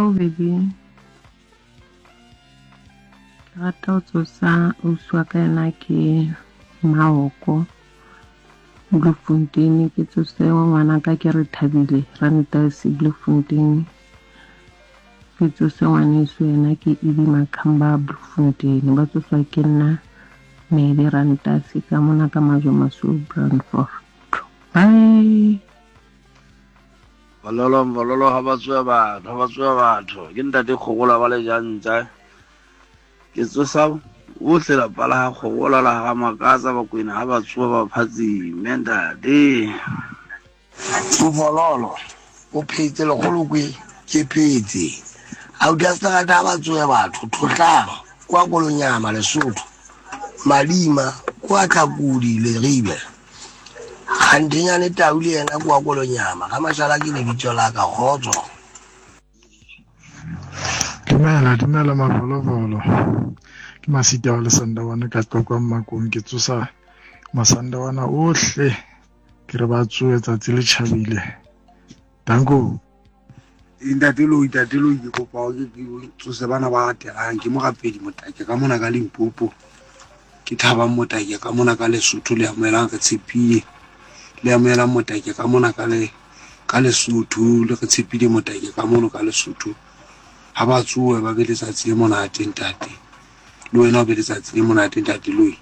Hello baby. Ke rata ho tsosa ausi wa ka yena ke Maoko Bloemfontein ke tsose ngwana ka ke re thabile Rantasi Bloemfontein ke tsose ngwaneso yena ke Edi Makhamba Bloemfontein ba tsoswa ke nna Medi Rantasi ka mona ka Majwe Masweu Brandfort. Bye. Bololo bololo ha ba tsoa batho ha ba tsoa batho ke ntate kgogola ba le jantsa ke tsosa bohle lapa la ga kgogola la ga makatsa bakwena ha ba tsoa ba phatsime ntate Mfololo o phetse lekgolokwe ke phetse auti a seterata ha ba tsoe batho thohlang kwa kolonyama lesotho Madima kwa Tlhakudi Leribe. Kganthenyane Tau le yena kwa Kolonyama. Ga Mashala ke lebitso la ka kgotso. Dumela, dumela mavolovolo. Ke Masita wa Lesandawana ka Tlokwa Mmakong ke tsosa Masandawana ohle ke re ba tsoe tsatsi le tjhabile. Danko. Ntate Loi, ntate Loi, ke kopa hore ke tsose bana ba latelang. Ke morapedi Motake ka mona ka Limpopo. Ke Thabang Motake ka mona ka Lesotho le amohelang re tshepile. Le amohelang Motake ka mona ka le ka Lesotho le re tshepile Motake ka mono ka Lesotho. Ha ba tsohe ba be letsatsi le monate ntate. Le wena o be letsatsi le monate ntate Loi.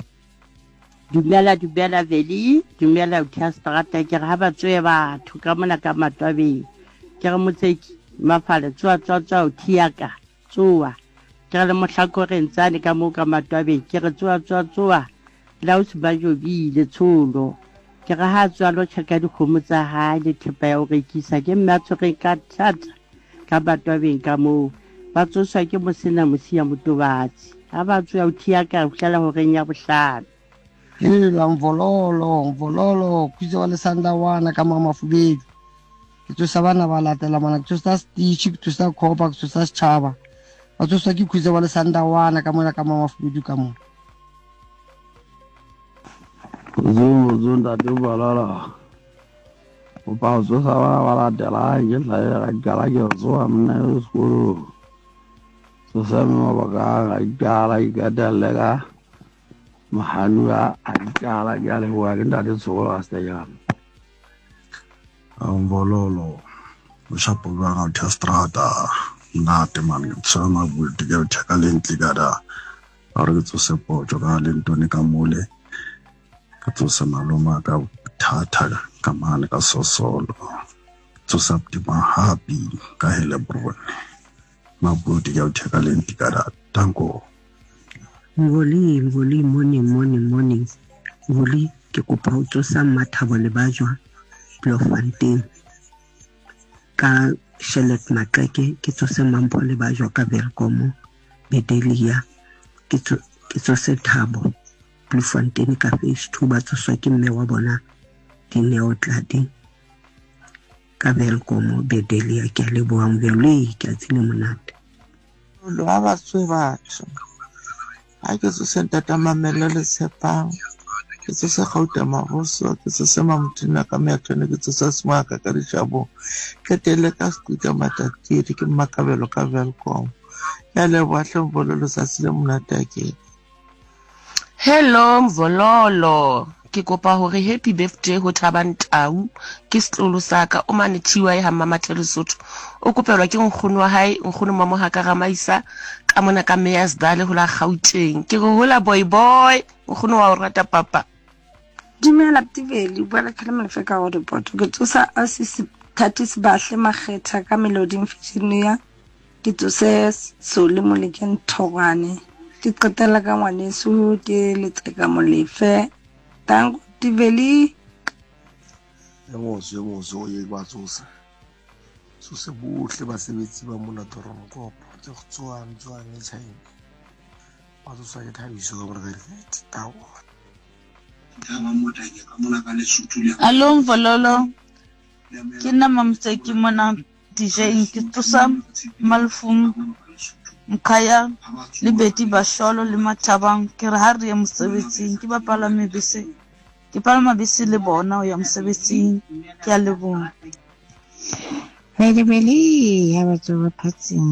Dumela dumela Veli, dumela Uthia Strata, ke re ha ba tsoe batho ka mona ka matwabeng. Ke re motseki mafale tsoa tsoa tsoa Uthia ka tsoa. Ke re le mohlakoreng tsane ka moo ka matwabeng ke re tsoa tsoa tsoa Laus ba jobile tsholo. Ke re ha tsoa lo tjheka dikgomo tsa hae le thepa ya ho rekisa ke mme a tshwereng ka thata ka batwabeng ka moo ba tsoswa ke mosena mosia motobatsi ha ba tsoa o thiya ka fihlela horeng ya bohlano. Hela mvololo mvololo khutse wa lesandawana ka mamafubedu ke tsosa bana ba latela mana ke tsosa stitch ke tsosa copa ke tsosa setšhaba ba tsoswa ke khutse wa lesandawana ka mona ka mamafubedu ka mona. Zungu zungu ntate Balala. Kopa ho tsosa bana ba latelang ke hlahe ga kala ke tsoha monna yo sekolong. Tsosa mme mabaka a ga ikala ikatelle ka mohanuwa a ikala ke a leboha ke ntate Tsholo a Sejana. Mbololo o shapo jwang a utha strata nnate man ke tshwere mabuti ke utha ka lentle ka da a re ke tsose potso ka lentone ka mole ka tsose maloma ka thatha ka mane ka sosolo tsosa happy ka Heilbron mabuti ke utha ka lentle ka da tanko. Ngoli, Ngoli, morning, morning, morning. Ngoli, ke kopa ho tsosa Mmathabo Lebajwa Bloemfontein ka Charlotte Maxeke, ke tsose Mampho Lebajwa ka Welkom Bedelia, ke tsose Thabo Bloemfontein ka Phase 2 ba tsoswa ke mme wa bona Dineo Tladi ka Welkom Bedelia. Ke a leboha Ngoli, ke a tsile monate. Lo ha ba tswe batho. Ha ke tsose ntata Mamello le Tshepang. Ke tsose Gauta Maboso, ke tsose Mamothina ka Meathone, ke tsose Semaka ka Ditšhabong. Ke tele ka Sekuta Matatiri, ke Mmakabelo ka Welkom. Ya leboha hle Mvolo letsatsi le monate akere. Hello Mvololo, ke kopa hore happy birthday ho Thabang Tau, ke setlolo sa ka, o mane TY ha Mmamathe Lesotho. O kopelwa ke nkgono wa hae, nkgono Mamohaka Ramaisa, ka mona ka Meyersdal ho la Gauteng. Ke re hola boy boy, nkgono wa o rata papa. Dumela Ptiveli, o bua le Khale Molefe ka Roodepoort. Ke tsosa Ausi Thatis Bahle Makgetha ka Meloding Virginia. Ke tsose Soli Molekeng Thogwane. Ke qetela ka ngwaneso ke Letseka Molefe. Danko Ptiveli. E motso e motso o ye ba tsosa. Tsose bohle basebetsi ba mona Toronkopo. Ke tsoang tsoang e China. Ba tsoswa ke thabiso ka mora ka dikete. Tawa. Alo Mvololo, ke nna Mamoseki mona DJing ke tsosa Malefung Mkhaya le Betty Basholo le Mathabang ke re ha re ye mosebetsing ke ba palame bese ke palama bese le bona ho ya mosebetsing ke a leboha. Bele bele ha ba tsoha phatsing.